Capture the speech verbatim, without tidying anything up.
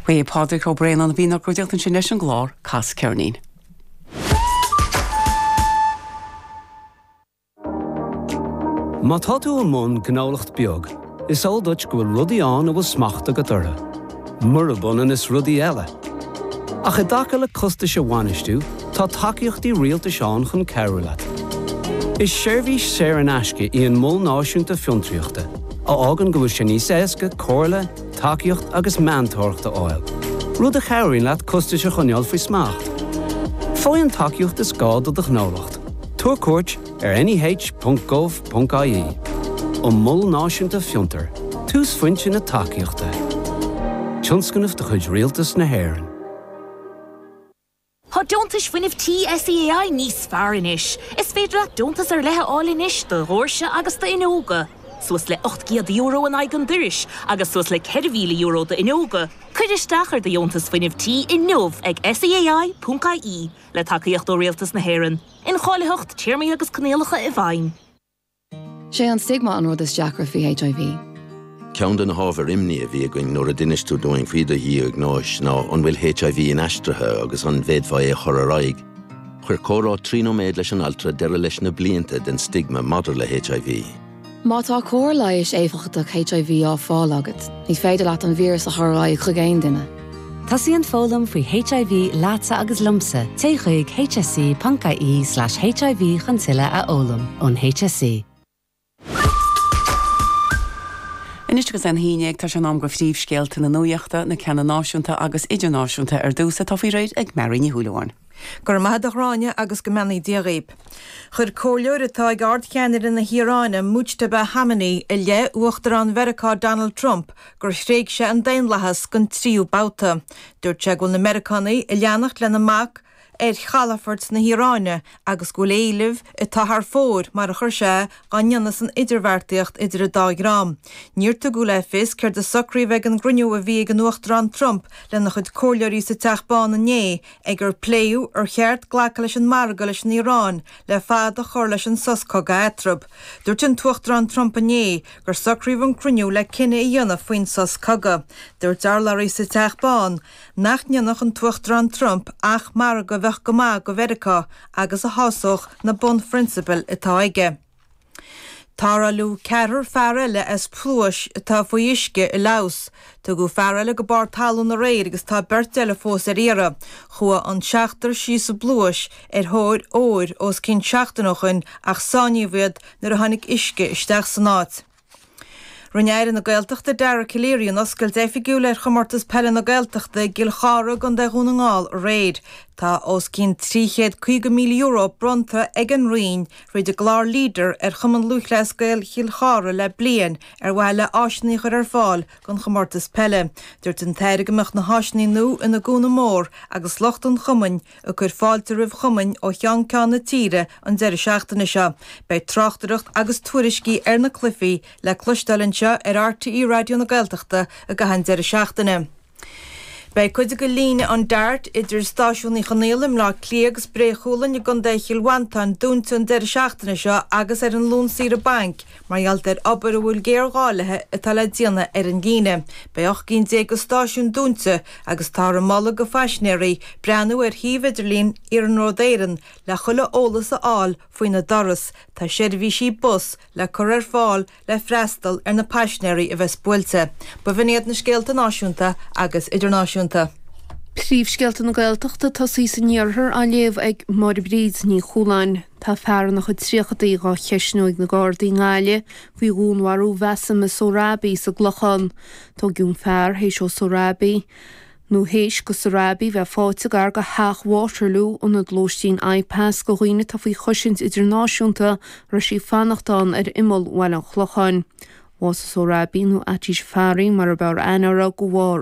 Ba é Pádraig Ó Braonáin a bhí inár gcuideachta ansin leis an gclár Cas Ceirnín. Má tá tú i mbun gnólacht beag, is eol duit go bhfuil rudaí ann a bhfuil smacht agat orthu. Murab ionann is rudaí eile. Ach i dtaca le costais a bhainistiú, tá tacaíochtaí rialtais ann chun cabhrú leat. Is seirbhís saor in aisce í an Mol Náisiúnta Fiontraíochta, a fhágann go bhfuil sé níos éasca comhairle, tacaíocht agus meantóireacht a fháil, rud a chabhraíonn leat costais a choinneáil faoi smacht. Faigh an tacaíocht is gá do do ghnólacht. Tabhair cuairt ar neh.gov.ie. An Mol Náisiúnta Fiontar, túsphointe na tacaíochta. Tionscnamh de chuid Rialtas na hÉireann. Tá deontais fuinnimh tí SEAI níos fearr anois. Is féidir leat deontas ar leith a fháil anois do dhoirse agus d'fhuinneoga. Suas le ocht gcéad euro in aghaidh an dorais agus suas le ceithre mhíle euro d'fhuinneoga. Cuir isteach ar do dheontas fuinnimh tí inniu ag SEAI.ie le tacaíocht ó Rialtas na hÉireann. Incháilitheacht, téarmaí agus coinníollacha i bhfeidhm. Sé an stigma an rud is deacra faoi HIV. Ceann de na hábhair imní a bhí againn nuair a d'inis tú dúinn faoi do dhiagnóis ná an bhfuil HIV inaistrithe agus an bhféadfá é a chur ar aghaidh. Chuir comhrá trí nóiméad leis an altra deireadh leis na blianta den stigma maidir le HIV. Má tá cóir leighis éifeachtach HIV á fáil agat, ní féidir leat an víreas a chur ar aghaidh chuig aon duine. Tosaíonn foghlaim faoi HIV leatsa agus liomsa, téigh chuig hse.ie/HIV chun tuilleadh a fhoghlaim ón HSE. Anois agus é a haon déag tá sé in am do phríomhscéalta na nuachta, na ceanna náisiúnta agus idirnáisiúnta ar dtús atá faoi réir ag Mary Ní Shúilleabháin. Go raibh maith agat a Ghráinne agus go mbeannaí Dia dhaoib. Chuir comhairleoir atá ag ardcheannaire na hIaráine Mujtaba Khamenei i leith Uachtarán Mheiriceá Donald Trump gur thréig sé an daonlathas don tríú babhta. Dúirt sé go bhfuil na Meiriceánaigh ag leanacht lena mbac ar chalafort na hIaráine agus go bhfuil éilimh atá thar fóir mar a chuir sé á ndéanamh san idirbheartaíocht idir an dá dhream. Níor tugadh le fios céard a socraíodh ag an gcruinniú a bhí ag an Uachtarán Trump lena chuid comhairleoirí sa Teach Bán inné ag ar pléadh ar cheart glacadh leis an margadh leis an Iaráin le fad a chur leis an sos cogaidh eatarthu. Dúirt an tUachtarán Trump inné gur socraíodh an cruinniú le cinneadh a dhéanamh faoin sos cogaidh. Dúirt urlabhraí sa Teach Bán nach ndéanfadh an tUachtarán Trump ach margadh a bheadh go maith do Mheiriceá agus a shásódh na bunphrionsabail atá aige. Tarrtháladh ceathrar fear eile as pluais atá faoi uisce i Laos. Tugadh fear eile go barr talún aréir agus tá beirt eile fós ar iarraidh. Chuaigh an seachtar síos sa bpluais ar thóir óir os cionn seachtain ó shin ach sáinníodh iad nuair a tháinig uisce isteach san áit. Rinne Aire na Gaeltachta Dara Calleary an oscailt oifigiúil ar chomórtas peile na Gaeltachta i gCill Chartha i gContae Dhún na nGall aréir. Tá os cionn trí chéad caoga míle euro bronnta ag an Roinn thríd an gclár Leader ar Chumann Lúthchleas Gael Chill Chartha le bliain ar mhaithe le áiseanna a chur ar fáil don chomórtas peile. Dúirt an tAire go mbeadh na háiseanna nua ina gcúnamh mór agus lucht an chumainn ag cur fáilte roimh chumainn ó cheann ceann na tíre an deireadh seachtaine seo. Beidh tráchtaireacht agus tuairiscí ar na cluichí le cloisteáil anseo ar RTÉ Raidió na Gaeltachta i gcaitheamh an deireadh seachtaine. Beidh cuid de líne an DART idir Stáisiún Uí Chonaill i mBleá Cliath agus Bré Chualainn i gContae Chill Mhantáin dúnta an deireadh seachtaine seo agus ar an Luan saoire bainc mar gheall ar obair a bhfuil géarghá léi atá le déanamh ar an líne. Beidh ocht gcinn déag de stáisiúin dúnta agus táthar ag moladh do phaisinéirí breathnú ar shuíomh idirlín Iarnród Éireann le chuile eolas a fháil faoina dturas. Tá seirbhísí bus le cur ar fáil le freastal ar na paisinéirí a bheas buailte. B'in iad na scéalta náisiúnta agus idirnáisiúnta. Príomhscéalta na Gaeltachta tosaí san iarthar á léamh ag Máire Bríd Ní Chualáin. Tá fear ina chuid tríochadaí dhá cheistniú ag na Gardaí i nGaillimh faoi dhúnmharú Bhasma Sohrabi sa gClochán. Tógadh an fear théis ó Sohrabi nó théis go Sohrabi bheith faighte gar go theach Waterloo ionad lóistín IPAS go dhaoine atá faoi chosaint idirnáisiúnta raibh sí fanacht ann ar imeall Bhaile an Chlocháin. Bhásaigh Sohrabi nó Ati Jafari mar a b'fhearr aithne uirthi de bharr